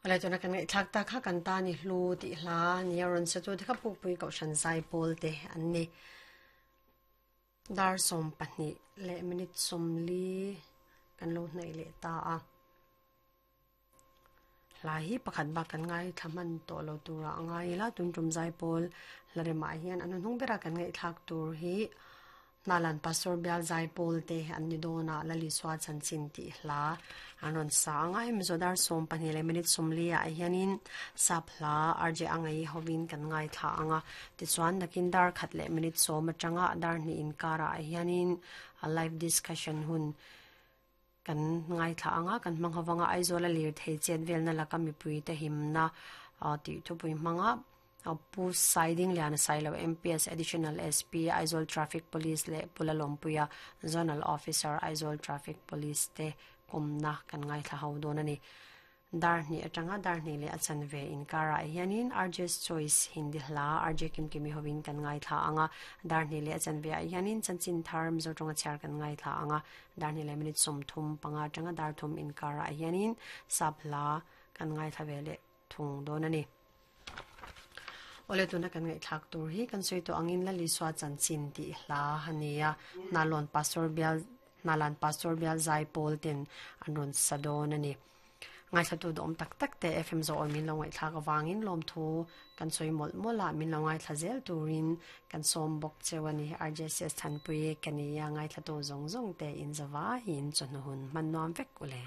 Awle tuna kan ngaihthlak tak kha kan tan i hlu tih hla nia rawn sa tu te kha Pukpui Kohhran Zaipawl te an ni. Dar 12 leh minute 40 kan lo hnaih leh ta a. Hla hi pakhat bak kan ngaithla hman tawh lo turah a ngai ila tun tum Zaipawl hla remah hian an hnuhnung bera kan ngaihthlak tur hi Hnalan Pastor Bial Zaipawl te an ni dawn a, Lalisua chanchin tih hla an rawn sa ang a, hemi zawh dar 12 leh minute 40 ah hianin sap hla RJ Angai hovin kan ngaithla ang a, tichuan nakin dar khat leh minute 10 atanga dar hnih inkarah hianin live discussion hun kan ngaithla ang a, kan hmang hovang a, Aizawl a lirthei chet velna laka mipuite himna tih thupui hmanga Pu Saidingliana Sailo MPS Additional SP Aizawl Traffic Police leh Pu Lalawmpuia Zonal Officer Aizawl Traffic Police te kawmna kan ngaithla ho dawn a ni. Dar hnih atanga dar hnih leh a chanve inkarah hianin RJ's Choice Hindi hla RJ Kimkimi hovin kan ngaithla ang a, dar hnih leh a chanve ah hianin chanchin thar Mizo tawnga chhiar kan ngaithla ang a, dar hnih leh minute 35 atanga dar thum inkarah hianin sap hla kan ngaithla ve leh thung dawn a ni. Awle tuna kan ngaihthlak tur hi kan sawi tawh angin Lalisua chanchin tih hla a ni a, Hnalawn Pastor Bial Hnalan Pastor Bial Zaipawl ten an rawn sa dawn a ni. Ngaithlatu duhawm tak tak te FM zawh awi min lo ngaihthlak avangin lawmthu kan sawi mawlh mawlh a, min lo ngaithla zel turin kan sawm bawk cheu a ni. RJCS Thanpui ka ni a, ngaithlatu zawng zawng te in zava hi in chawhnu hun hman nuam vek u le.